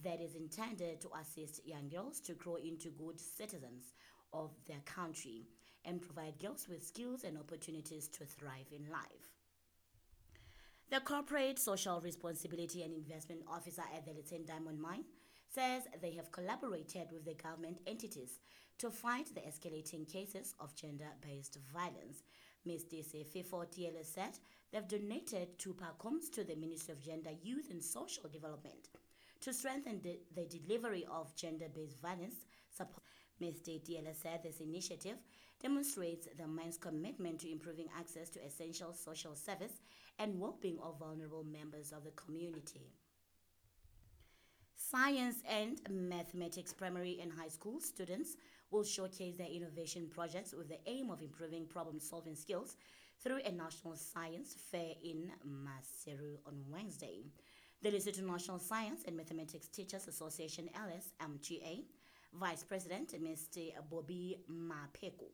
that is intended to assist young girls to grow into good citizens of their country and provide girls with skills and opportunities to thrive in life. The Corporate Social Responsibility and Investment Officer at the Letseng Diamond Mine says they have collaborated with the government entities to fight the escalating cases of gender-based violence. Ms. Sefefo Tiele said they've donated 2 PACOMs to the Ministry of Gender, Youth and Social Development to strengthen the delivery of gender-based violence support. Ms. Tiele said this initiative demonstrates the mine's commitment to improving access to essential social service and well-being of vulnerable members of the community. Science and mathematics primary and high school students will showcase their innovation projects with the aim of improving problem-solving skills through a national science fair in Maseru on Wednesday. The Lesotho National Science and Mathematics Teachers Association, LSMTA, Vice President Mr. Bobby Mapeko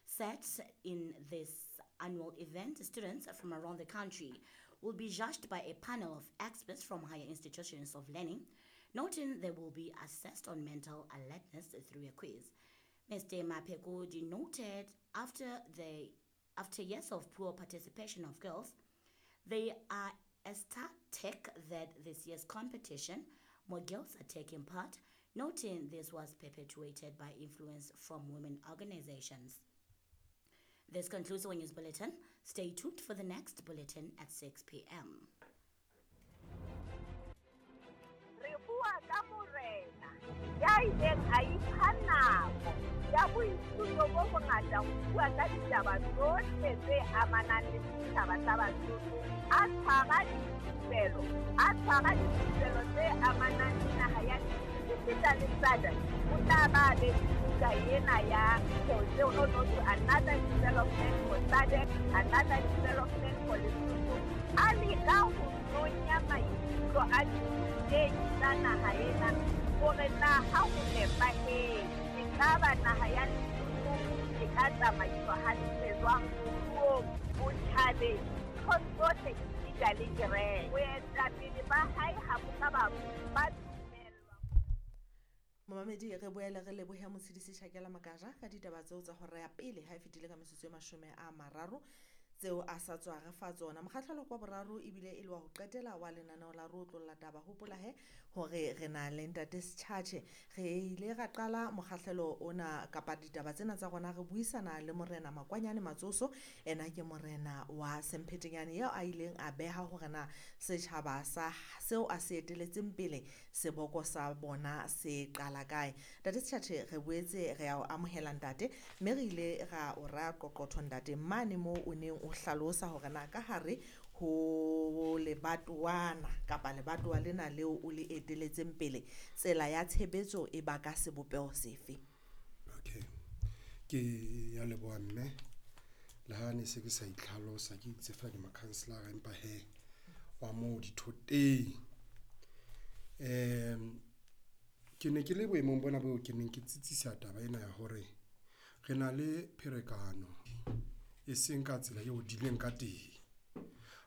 said in this annual event, students from around the country will be judged by a panel of experts from higher institutions of learning, noting they will be assessed on mental alertness through a quiz. Mr. Mapeko denoted after years of poor participation of girls, they are ecstatic that this year's competition, more girls are taking part, noting this was perpetuated by influence from women organizations. This concludes our news bulletin. Stay tuned for the next bulletin at 6 p.m. Re bua ka morena ya ileng a ipha nako ya boithuto bo bongata ho bua ka ditaba tsohle tse amanang le setjhaba sa Basotho, a tshwara dithupelo tse amanang le naha ya esita le SADC. O tla ba be buka ena ya no another development for SADC, another development for Lesotho. A leka ho nonya maikutlo a dithutehi tsa naha ena hore na ha ho nepahetse ekaba naha ya Lesotho e ka tsamaiswa hantle jwang moruong, botjhabeng, nthong tsohle esita le kereke. Boetapele ba hae ha bo ka ba dumellwa. Momamedi, re boele re lebohe Motshidisi Tjhakela Makaja ka ditaba tseo tsa hora ya pele ha e fetile ka metsotso e 30 tseo a sa tswa re fa tsona. Mokgahlelo kwa boraro ebile e le wa ho qetela wa lenaneo la Re Otlolla Taba. Hopola he hore re na le ntate Setjhatjhe. Re ile ra qala mokgahlelo ona kapa ditaba tsena tsa rona re buisana le morena Makwanyane Matsoso. Ena ke morena wa Semphetenyane eo a ileng a beha hore na setjhaba sa seo a se eteletseng pele seboko sa bona se qala kae. Ntate Setjhatjhe, re boetse re a o amohela ntate, mme re ile ra o raya qoqotho ntate mane moo o neng o hlalosa hore na ka hare ho lebatowana kapa lebatowa lena leo o le eteletseng pele tsela ya tshebetso e ba ka sebopeho sefe. Okay, ke ya leboha mme. Le ha ne se ke sa itlhalosa ke itse fa ke makhanselara, empa he wa moo dithoteng. Ke ne ke le boemong bona boo ke neng ke tsitsisa taba ena ya hore re na le pherekano e seng ka tsela eo dileng ka teng.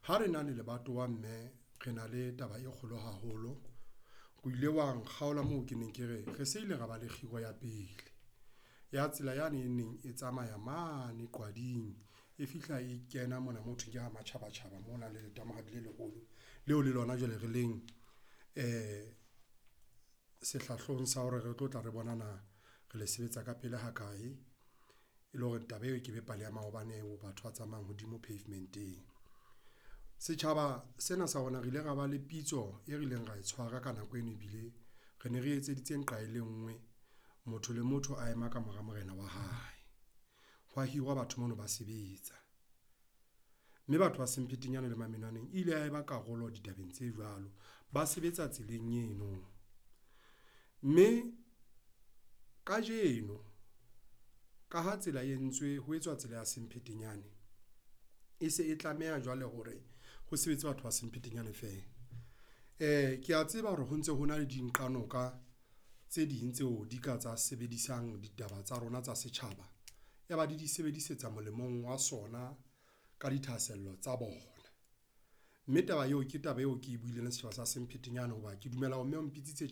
Ha re na le lebatowa mme re na le taba e kgolo haholo. O ile wa nkgaola moo ke neng ke re re se ile ra ba le kgiro ya pele ya tsela yane e neng e tsamaya mane Qwading, e fihla e kena mona mo thweng ke ha matjhabatjhaba mona le letamahadi le leholo leo le lona jwale re leng sehlahlong sa hore re tlo tla re bona na re le sebetsa ka pele ha kae, e le hore taba eo ke be pale ya maobane eo batho ba tsamayang hodimo pavementeng. Setjhaba sena sa rona re ile ra ba le pitso e rileng ra e tshwara ka nako eno, ebile re ne re etseditse nqa e le nngwe, motho le motho a ema ka mora morena wa hae. Hwa hirwa batho mono ba sebetsa, mme batho ba Semphetenyane le Mamenwaneng ile ya eba karolo ditabeng tse jwalo, ba sebetsa tseleng eno. Mme kajeno ka ha tsela e entswe ho etswa tsela ya Semphetenyane, e se e tlameha jwale hore ho sebetse batho ba Semphetenyane feela. Ke a tseba hore ho ntse ho na le dinqanoka tse ding tseo di ka tsa sebedisang ditaba tsa rona tsa setjhaba, ya ba di di sebedisetsa molemong wa sona ka dithahasello tsa bona. Mme taba eo ke taba eo ke e buileng le setjhaba sa Semphetenyane hoba ke dumela hore mme o mpitsitse.